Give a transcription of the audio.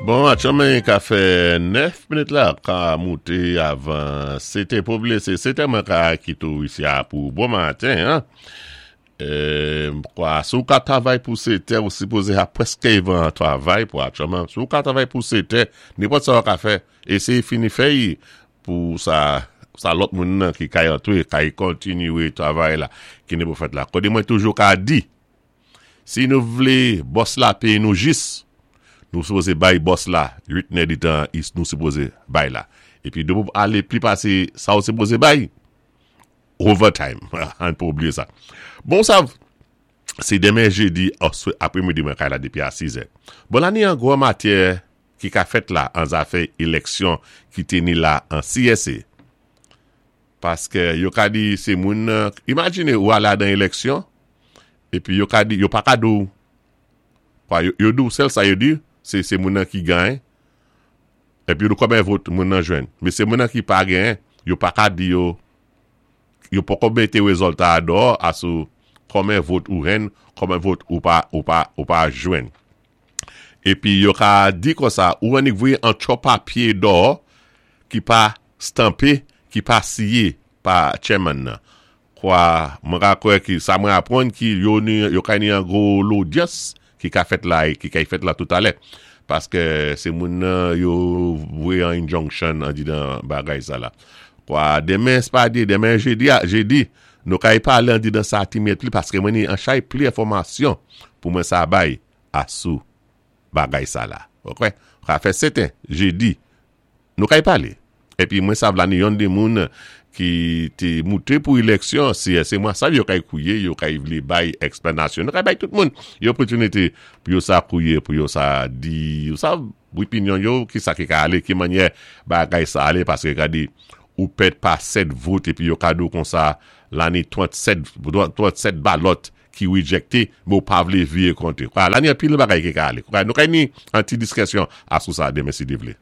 Bon, atchanmen ka fè 9 minit la ka moute avan 7 è pou blese 7 è mwen ka kite w isi a pou bon maten an. Kwa si w ka travay pou 7 è ou sipoze a preske evan travay pou atchanmen. Si w ka travay pou 7 è, nenpòt sa w ka fè, eseye fini fè y pou sa sa lòt moun nan ki kay antre kay kontinye travay la ki ne pou fèt la. Kode mwen toujou ka di. Si nou vle bòs la peye nou jis, nou sipoze bay bòs la 8 nè di tan is nou sipoze bay la. Epi depi w ale pli pase sa w sipoze bay, overtime. Ann pa oubliye sa. Bon sa se demen jedi apremidi mwen kay la depi a 6 è. Bon la ni an gwo matyè ki ka fèt la an zafè eleksyon ki teni la an CSA. Paske yo ka di se moun nan, imajine ou ale adan eleksyon, epi yo ka di, yo pa ka di w, kwa yo di w sèl sa yo di, se se moun nan ki gany, epi yo di w konbyen vot moun nan jwenn. Men se moun nan ki pa genyen, yo pa ka di yo, yo poko mete rezòlta a dò a sou konbyen vot ou jwenn, konbyen vot ou pa, ou pa, ou pa jwenn. Epi yo ka di konsa, ou annik voye an tchò papye dò ki pa stanpe ki pa siye pa chairman nan. Kwa mwen ka kwè ki sa mwen aprann ki yo ni yo ka ni an gwo lodyans ki ka fèt la ki kay fèt la toutalè. Paske se moun nan yo voye an injunction andidan bagay sa la. Kwa demen se pa di demen jedi a jedi nou kay pale andidan sa ti mèt li paske mwen ni an chay pli enfòmasyon pou mwen sa bay a sou bagay sa la. Ok. Ka fè seten jedi Nou kay pale. Epi mwen sav la ni yonn de moun ki te moute pou eleksyon CSA mwen sav yo kay kouye yo kay vle bay eksplanasyon. Nou kay bay tout moun yon opotinite pou yo sa kouye pou yo sa di ou sav opinyon yo ki sa ki ka ale ki manyè bagay sa ale paske gade ou pèd pa 7 vot epi yo ka di w konsa la ni 37 37 balòt ki rejecte men ou pa vle vire konte. Kwa la ni anpil bagay ki ka ale. Kwa nou kay ni an ti diskesyon asou sa demen si Dye vle.